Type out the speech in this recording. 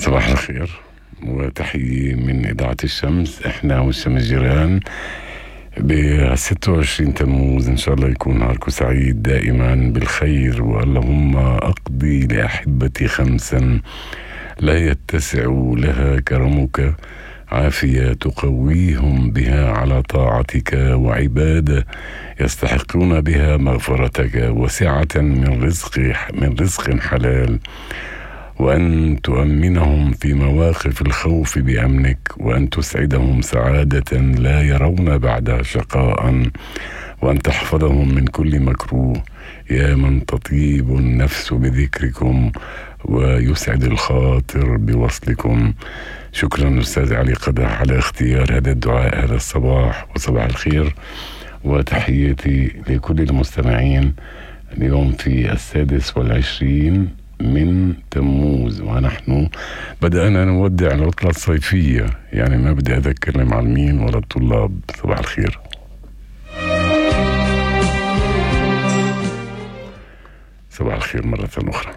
صباح الخير وتحية من إذاعة الشمس. إحنا والشمس جيران. ب26 تموز إن شاء الله يكون نهاركم سعيد دائما بالخير. واللهم أقضي لأحبتي 5 لا يتسع لها كرمك، عافية تقويهم بها على طاعتك، وعبادة يستحقون بها مغفرتك، وسعة من رزق حلال، وأن تؤمنهم في مواقف الخوف بأمنك، وأن تسعدهم سعادة لا يرون بعدها شقاء، وأن تحفظهم من كل مكروه، يا من تطيب النفس بذكركم ويسعد الخاطر بوصلكم. شكرا أستاذ علي قدح على اختيار هذا الدعاء هذا الصباح، وصباح الخير وتحياتي لكل المستمعين. اليوم في 26 من تموز، ونحن بدأنا نودع العطلة الصيفية، يعني ما بدي أذكر المعلمين ولا الطلاب. صباح الخير. صباح الخير مرة أخرى.